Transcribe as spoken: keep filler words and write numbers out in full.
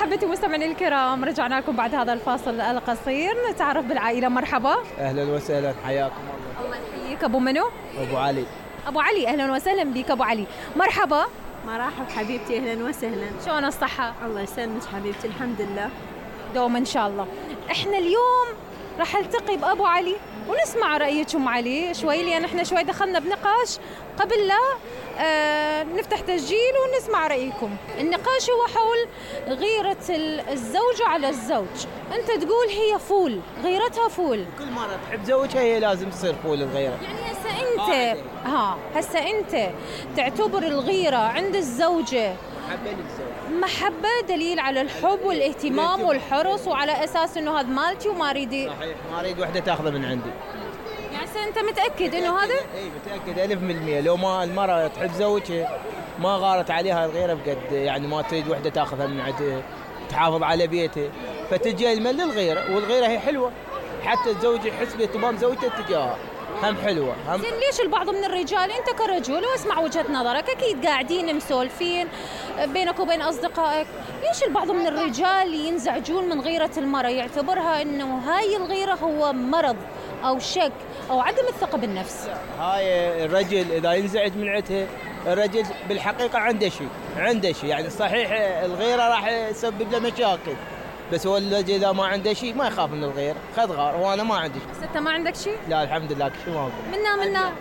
محبتي مستمعينا الكرام، رجعنا لكم بعد هذا الفاصل القصير. نتعرف بالعائلة. مرحبا. اهلا وسهلا، حياكم الله. الله يحييك. ابو منو؟ ابو علي. ابو علي، اهلا وسهلا بك ابو علي. مرحبا. مرحبا حبيبتي، اهلا وسهلا. شلون الصحة؟ الله يسلمك حبيبتي، الحمد لله دوم ان شاء الله. احنا اليوم راح التقي بابو علي ونسمع رأيك ام علي شوي، لان احنا شوي دخلنا بنقاش قبل لا آه نفتح تسجيل ونسمع رأيكم. النقاش هو حول غيرة الزوجة على الزوج. انت تقول هي فول، غيرتها فول. كل مرة تحب زوجها هي لازم تصير فول الغيرة. يعني هسه انت ها هسه انت تعتبر الغيرة عند الزوجة محبة للزوج، محبة دليل على الحب والاهتمام والحرص، وعلى اساس انه هذا مالتي وما اريد. صحيح، ما اريد وحدة تاخذه من عندي. يعني هسه انت متأكد انه هذا؟ اي متأكد ألف بالمية. لو ما المرأة تحب زوجها ما غارت عليها الغيرة بقد، يعني ما تريد وحدة تاخذها من عندها، تحافظ على بيته، فتجي المل للغيرة. والغيرة هي حلوة، حتى الزوج يحس باهتمام زوجته تجاهها، هم حلوة. هم زين ليش البعض من الرجال، انت كرجل واسمع وجهة نظرك، اكيد قاعدين مسولفين بينك وبين اصدقائك، ليش البعض من الرجال ينزعجون من غيرة المرأة، يعتبرها انه هاي الغيرة هو مرض او شك او عدم الثقة بالنفس؟ هاي الرجل اذا ينزعج من عندها، الرجل بالحقيقة عنده شيء، عنده شيء يعني صحيح الغيرة راح تسبب له مشاكل، بس هو الذي اذا ما عنده شيء ما يخاف من الغير. خذ غار، وانا ما عندي شيء. بس انت ما عندك شيء؟ لا الحمد لله، كل شيء موجود. منا منا